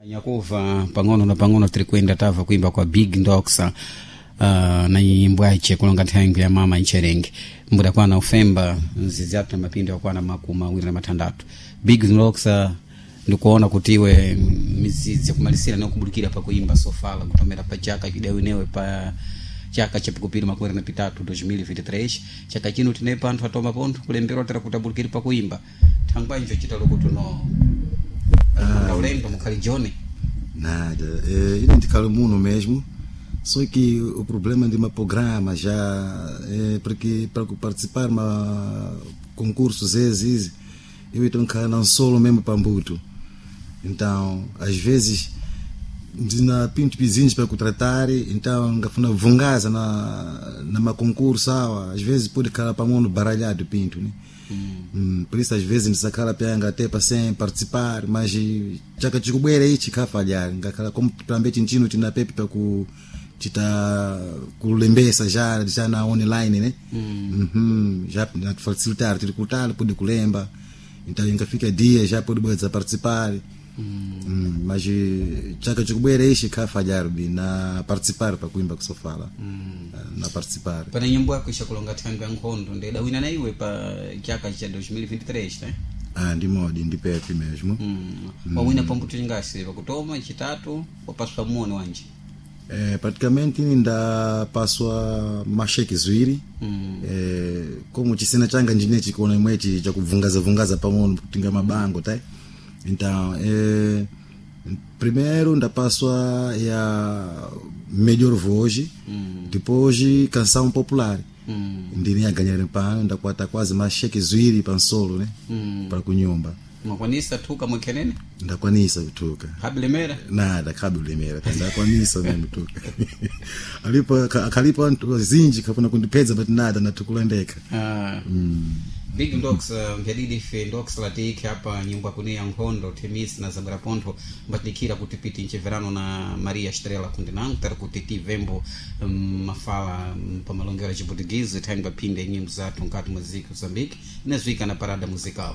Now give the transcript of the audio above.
Nyakuva pang'ono na pang'ono tiri kuenda tava kuimba kwa Big Ndoxa na nyimbo yache kulonga nthengo ya mama ncherenge mbuda kwana ufemba nzizi athu na mapindu yakwana 26. Big Ndoxa, ndikuona kuti iwe mizizi yakumalisira nokubudikira pakuimba sofala kutomera pa chaka chidawinewe pa chaka cha pikupiri 23 2023. Chaka chino tinepa anthu atoma pontho kulemberwa tera kuti abudikire pakuimba thangwanjo chita lokuti no ulemba mukhali jone. Nada, ine ndikhala muno mesmo, só que o problema de uma programa já é porque para participar uma concursos esses, eu então não solo mesmo para Mbuto. Então, às vezes na pinto vizinhos para contratar, então ngafuna vungaza na numa concurso awa, às vezes pode calar para mundo baralhado pinto, né? Por isso às vezes ndisakhala pyanga até para sem participar, mas chaka chikubwera ichi kafalhar ngakhala como pambe chinchino tina pepe para ku chita kulembesa já já na online, né? Já na facilitar tiri kutala pode kulemba, então ingafika dia já pode bweza participar. Mas chaka chikubwera ichi kafalhar bi na participar para kuimba kusofala. Na participar. Pana nyimbo yako ishakulonga thango ya nkhondo ndedawina na iwe pa chaka cha 2023, né? Ah, ndi modi ndi pepe mesmo. Wawina pambuto chingasi pakutoma chitatu wapaswa muone wanje? Praticamente ndapaswa masheke ziwiri. Como chisena changa ndine chikuona imwechi chakubvungaza vungaza pang'ono kutinga mabango tai, então primeiro ndapaswa ya melhor voz, depois canção popular. Ndine yaganyira pano ndakwata quase masheke ziwiri pansolo, né? Para kunyumba. Mwakwanisa thuka mwekhenene? Ndakwanisa kutuka. Habilemera? Nada, kabilemera ndakwanisa mesmo tuka alipo akalipo anthu zinji kafuna kundipedza, but nada, natukulendeka. Ah. Big Ndox, mvyadidi ife Ndox latiikhe apa nyimbo akune ya nkhondo Themis na Zabwera Pontho mbatilikira kuti piti ncheverano na Maria Estrela kundinango tari kuti tivembo mafala pamalongero ya Chiportuguese thangwe phinde nyimbo zathu nkati muziki Mozambique inazwika na parada musical.